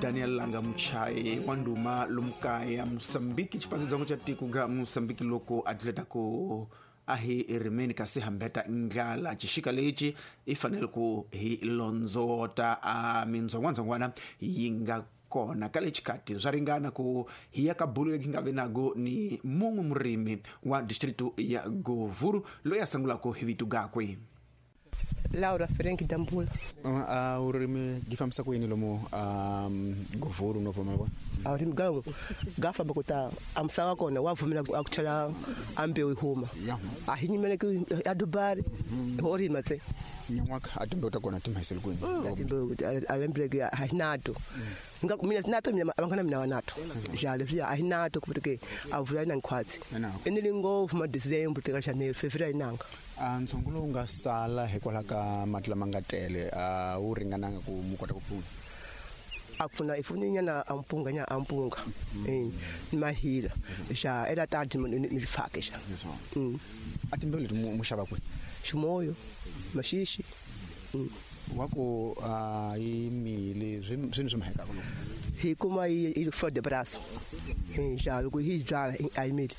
Daniel Langa Muchayi wa ndhuma lomu kaya Mosambiki, xipandzedzongo xa tiko ga Mosambiki loko a tleta ku a hi rimeni kasi hambeta ndlala. Xixika lexi i fanele ku hi londzota a mindzongwandzongwana yi nga kona ka le xikati swa ringana ku hi ya ka bulu leyi nga ve nago ni mun'we murimi wa distritu ya Govuru loyi a sungulaka hi vito gakwe. Laura Frank Dambula. A urimi gi fambisa ku yini lomu Govuru no vuma vona? A urimi ga famba ku ta a misava kona wa vumela a ku chela a mbewu yi huma. A hi nyimele ku a dubari ho rima tse. Nyan'waka a timbewu ta kona ti mahisele kwini? A timbewu a lembele a hi nato. Nga mina nato mina abangana mina wa nato. Ja leswi a hi nato ku ke a vula na nkhwatsi. Ene lingo ma December tika Janeiro Fevereiro inanga. A ntsongo lowu nga sala hikwalaho ka mati lama nga tele a wu ringananga ku mu kota ku pfuna. A pfuna i pfuni nyana a mpunga nya a mpunga. Ni mahila. Ja ela tadi ni fake xa. A timbewu leti mu xava kwihi? Ximoyo, Maxixi. Wa ku a yi mili swini swi mahekaka loko hi kuma yi flor de braço. Ja loko hi byala a yi mili.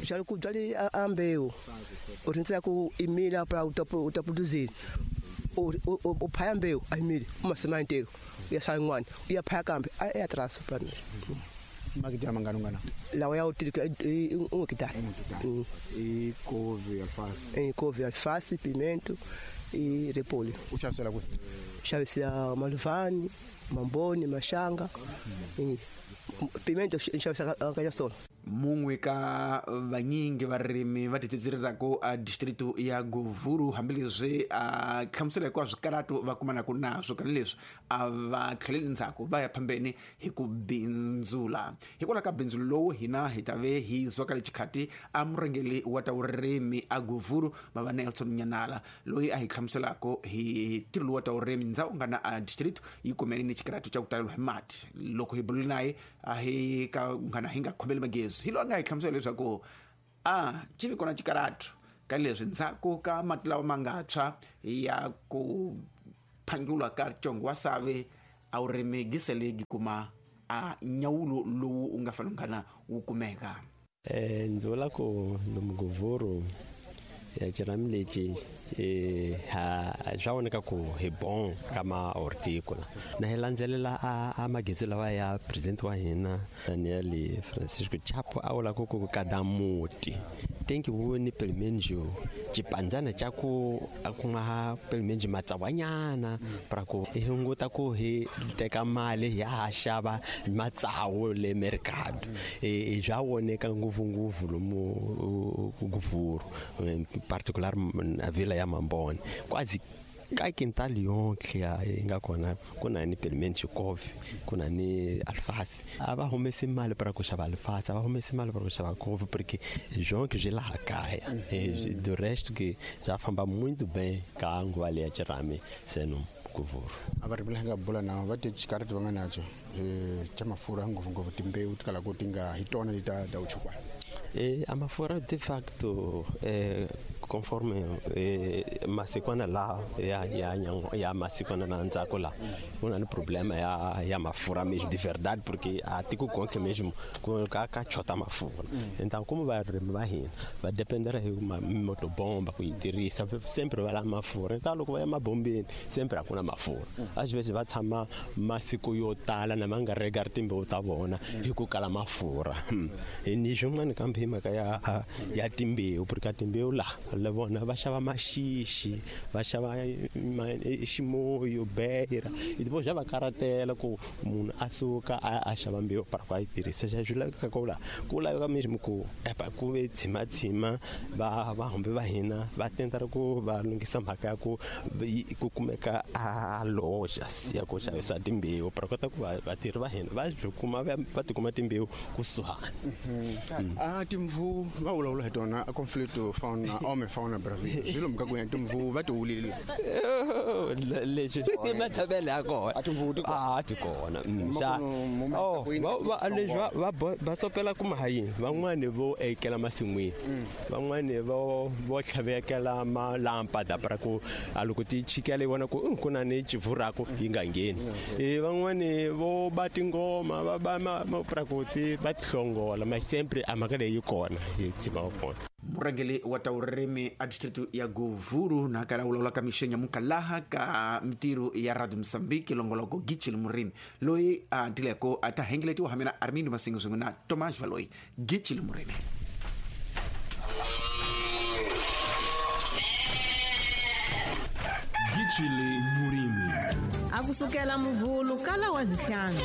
Ja loko byali a mbewu u rindzela ku i mila pra u ta produzir. U phaya mbewu a yi mili u masima ntirho ya sala yin'wana u ya phaya kambe a ya traso pra makitara mangani ungana lawa ya utirika un hectare. I couve, alface. I couve, alface, pimento e repolho. U xavisela kwihi? Xavisela Maluvani, Mamboni, Maxanga. Pimento xavisa ka Nyasolo. Mun'we ka vanyingi varimi va titsitsilelaka a distritu ya Govuru hambileswi a hlamusela hikuva swikaratu va kumanaka naswo ka leswi a va tlheleli ndzhaku va ya phambeni hi ku bindzula. Hikwalaho ka bindzu lowu hina hi ta ve hi zwa ka le xikhati a murhangeri wa ta vurimi a Govuru bava Nelson Nyanala loyi a hi hlamuselaka hi ntirho lowu wa ta vurimi ndzhawu nga na a distritu yi kumene ni xikaratu xa ku taleriwa hi mati. Loko hi bulile naye a hi ka nghana hi nga khomeli magezi hi loyi a nga hi hlamusela leswaku a xi vi kona xikaratu ka leswi ndzhaku ka mati lawa ma nga tshwa ya ku phangiwa ka congo wa save a wu rimi giselegi kuma a nyawulo lowu u nga fanele nghana wu kumeka. Ndzi vula ku lomu Govuru ya xirhami lexi swa vonaka ku hi bon ka ma horticola na hi landzelela a magezi lawa ya president wa hina Daniel Francisco Chapo a vula ku ku kada muti tem que vone pelo menos xipandzana xa ku a kuma pelo menos matsawanyana para ku hi hunguta ku hi teka mali hi ya ha xava matsawu le mercado. Swa voneka ngopfungopfu lomu Govuru in particular a vila ya Mambone quase ka quintal yonke yi nga kona ku na ni pelo menos couve ku na ni alface. A va humesi mali para ku xava alface, a va humesi mali para ku xava couve porque jonke byi laha kaya. Do resto que já famba muito bem ka nguva leya xirhami seno Govuru. A va rimi nga bula na va ti xikarhi va nga nacho xa mafurha ngopfungopfu timbewu ti kala ku ti nga hi tona leti ta uchukwana. A mafurha de facto conforme masikwana la ya masikwana na ndzhaku la ku na ni problema ya mafurha mesmo de verdade porque a tiko konke mesmo ku ka chota mafurha. Então como varimi va hina va dependera hi motobomba ku yi tirhisa sempre va lava mafurha. Então loko va ya mabombeni sempre a ku na mafurha. Às vezes va tshama masiku yo tala na ma nga regari timbewu ta vona hi ku kala mafurha. Ni swin'wana kambe hi mhaka ya timbewu porque a timbewu la le vona va xava maxixi va xava ximoyo beira depois já va karatela ku munhu a suka a xava mbewu para ku a yi tirhisa. Xa swi laveka ku la ku laveka mesmo ku epa ku ve tshimatsima va vahumbi va hina va tenta ku va lunghisa mhaka ya ku ku kumeka a loja ya ku xavisa timbewu para kota ku vatirhi va hina va byi kuma va tikuma timbewu kusuhani. A timvu va vulavula hi tona a conflito fauna homem Fauna bravia swilo mhaka ku ya timvuvu va ti wulile. Leswi i matshamelo ya kona. A timvuvu ti kona? A ti kona. Ma ku mu Oh, ku yini kasi leswi va sopela kuma ha yini, van'wani vo ekela masin'wini, van'wani vo tlhavekela malampa da pra ku a loko ti chikela yi vona ku ku na ni chivurako yi nga ngheni. Van'wani vo ba tingoma va ba pra ku ti va ti hlongola, ma sempre a mhaka leyi yi kona yi tshama kona. Murhangeri wa ta vurimi a district ya Govuru na kala vulavula ka mixenya mukalaha ka mitirho ya Radio Mozambique longoloko Gichili Murimi loyi a tileko a ta hengeletiwa hamina Armindo Masingo swin'we na Thomas Valoyi. Gichili Murimi. Gichili Murimi. Akusukela muvhulu kala wa zihlanga.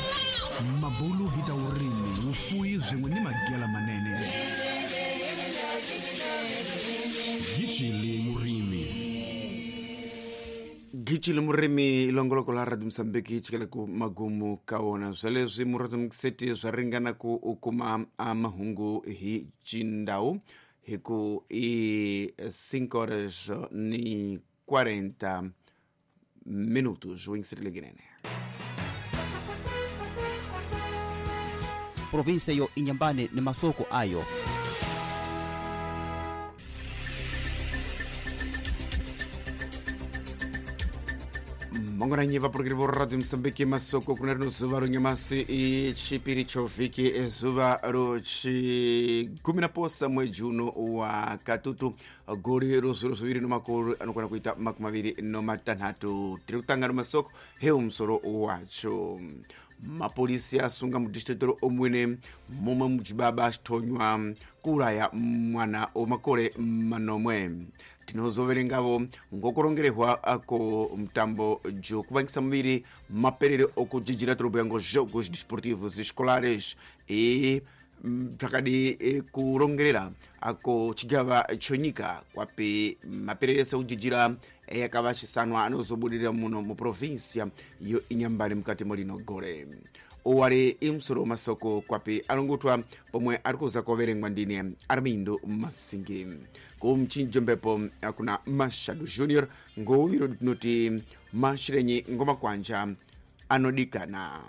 Mabulu hi ta vurimi, vufuwi swin'we ni magela manene. Gichili Murimi. Gichili Murimi longoloko la Radio Mozambique yi chikele ku magumu ka wona. Sweleswi murhazimukiseti swa ringana ku u kuma a mahungu hi Chindau hi ku i 5 horas ni 40 minutos o inserile. Provinsia yo Inhambane ni masoko ayo. Mangwananyi vapurukiri vo Radio Mozambique masoko kuna rino zuva ronyamasi i chipiri chovhiki zuva rochigumi na posa mwedzi uno wa katutu gore ro zviro zviviri nomakore anokwana kuita 26. Tiri kutanga nomasoko heu musoro wacho. Mapolisi asunga mudistrict omwene mumwe muchibaba achitonywa kuuraya mwana omakore manomwe. Tinozoverengavo ngokurongerehwa ko mutambo jokuvangisa muviri maperere okujijira torobhuya ngo jogos desportivos escolares e zvakadi kurongerera ako chigava chonyika kwapi maperere sekujijira yakava chisanwa anozobudirira muno muprovinsia yo Inhambane mukati molino gore. Owari imusoro masoko kwapi anongotwa pomwe ari kuza koverengwa ndine Armindo Masingi. Kumchinjombepo kuna Mashado Junior ngouviro tinoti mashirenyi ngomakwanja anodikana.